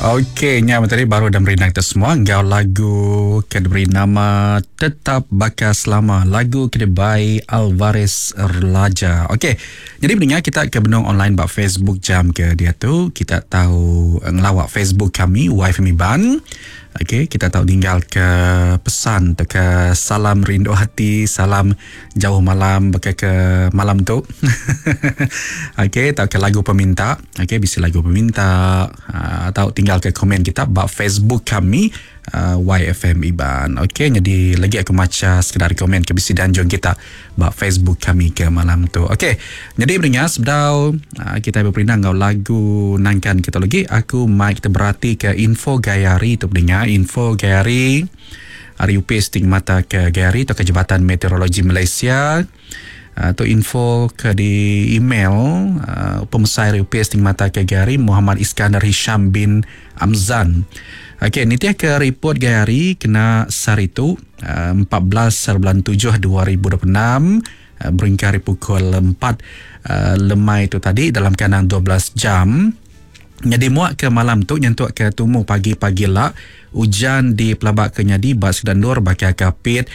Okey, nya tadi baru dah merindang kita semua enggau lagu ke diberi nama Tetap Baka Selama, lagu ke dibai Alvarez Laja. Okey, jadi pendengar kita ke benung online ba Facebook jam ke diatu, kita tau ngelawa Facebook kami YFM Iban. Okey, kita tau ninggal ke pesan tauka salam rindu hati, salam jauh malam baka ke malam tu. Okey, tauka lagu peminta. Okey, bisi lagu peminta uh, tau tinggal ke komen kita ba Facebook kami uh, YFM Iban. Okey, jadi lagi aku macha sekeda komen ke bisi dianjung kita ba Facebook kami ke malam tu. Okey, nyadi beringat sebedau uh, kita beperindang enggau lagu nangkan kita lagi, aku mai kita berati ke info gaya hari tu beringat, info gaya hari hari upis ti ngemata ke gaya hari tauka Jabatan Meteorologi Malaysia. Uh, tu info ke di email uh, pemesai hari upis ti ngemata ke gaya hari Muhammad Iskandar Hisham bin Amzan. Okey, nitih ke ripot gaya hari kena sehari tu, 14 bulan 7 2026, berengkah ari pukul 4 lemai tu tadi dalam kandang 12 jam. Nyadi muak ke malam tu nyentuk ke tumu pagi-pagi la, ujan dipelaba ke nyadi ba sekeda endur baka Kapit,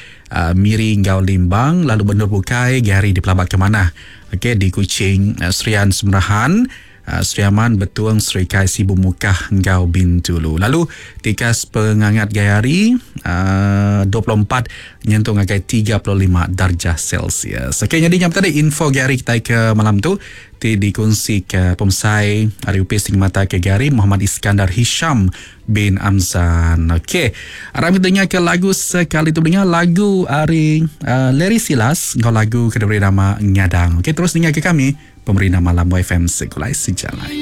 Miri enggau Limbang lalu ba endur bukai gaya hari dipelaba ke manah. Okey, di Kuching, Serian Semerahan, Sri Aman, Betong, Serikai, Sibu, Mukah enggau Bintulu. Lalu tikas pengangat gaya hari 24 nyentuk ngagai 35 darjah Celsius. Okey nyadi nya tadi info gaya hari kitai ke malam tu ti dikongsi ke pemesai ari Opis Ngemata ke Gaya Hari Muhammad Iskandar Hisham bin Amzan. Okey. Aram kita dengar ke lagu sekali tu dengar lagu ari Larry Silas enggau lagu ke diberi nama Ngadang. Okey terus dengar ke kami. Pemerindang Malam YFM Segulai Sejalai.